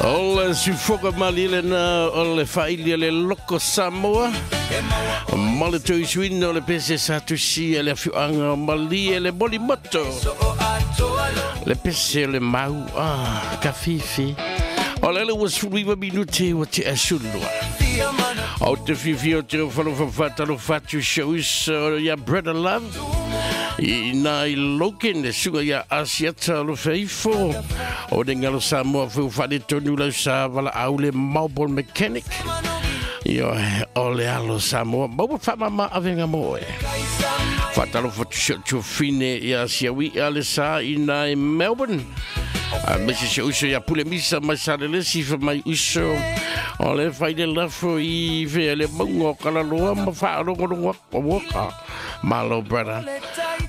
O le sufoka mali lena o le faili le loko Samoa. Ma le tuisuina o le pese sa tusia le afioaga o Malie le molimoto. Le pese o le mau a kafifi. O le ua 19 minute ua te asulua. O te fifi o te whalofa whatalo whatu showis ia Brother Love. I nā i Logan le suga ia Asiata lo feifo. O le ngalo Samoa feu whale tonu lau sa wala au le Marble Mechanic. Io o le alo Samoa. Maua whamama awenga moe. Whatalo whatu tu fine ia siawi a le sa i nā i Melbourne. A mese se uso ia pule misa mai sa le lesi fa mai uso. O le whai le lafo i whea le maunga o kalaloa ma whaalongo o waka. Malo, brother.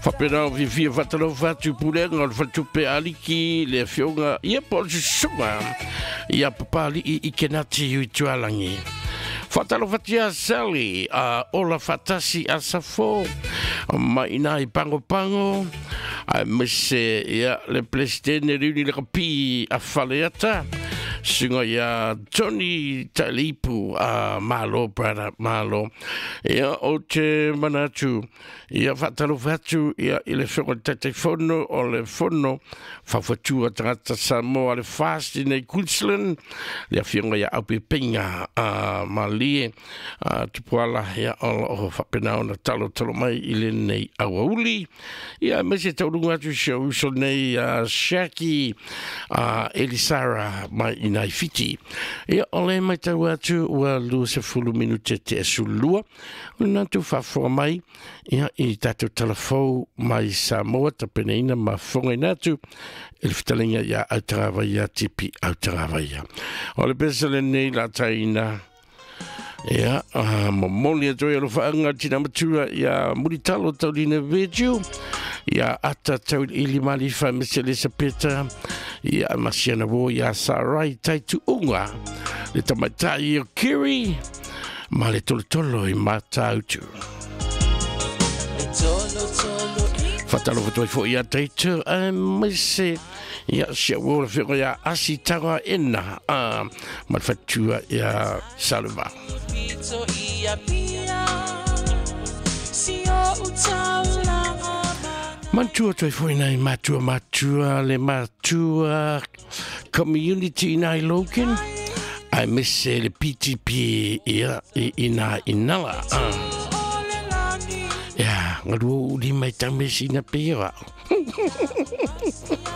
Whapena o whiwhia whatalo whatu pulenga o le whatupe aliki le fionga ia po o susunga ia papali i kenati ui tualangi. Whatalo whatia Sally a ola whatasi a safo ma ina i pango pango a mese ia le presidente riuni le kapi a whaleata sunga ia Tony Talipu a malo brother malo ia o te manatu ia whatalo whatu ia i le whenga tete fono o le fono whawhatua tangata Samoa le fast i nei Queensland le afionga ia aupe pinga a malie a tupuala ia o whapena ona talo talo mai i le nei awauli ia mese taurunga atu si au uso nei a Shaki a Elisara mai i nai fiti. Ia o le mai tau atu ua 20 minute te asulua o le natu whafoa mai ia i tātou telefou mai Samoa tapeneina ma fonga atu e le fitalinga ia autangavaia tipi autangavaia. O le pesa le nei la taina ia momoli atu ia alofaanga tina matua ia Mulitalo Taulina Virgil ia Ata Tauli Malifa Mese Elisapeta ia Masiana Wo ia Sarai Taituunga le tamaitai o Kiri ma le tolotolo i Matautu. Whatalo whatoi fo ia teitu a mese ia sia wora whio ia asi tanga ena a ma whatua ia Saluma. Mantua toi foi nei matua matua le matua community nei Logan ai mese le PTP ia i nā inala. Ia, ngalua uli mai tamesi na pera.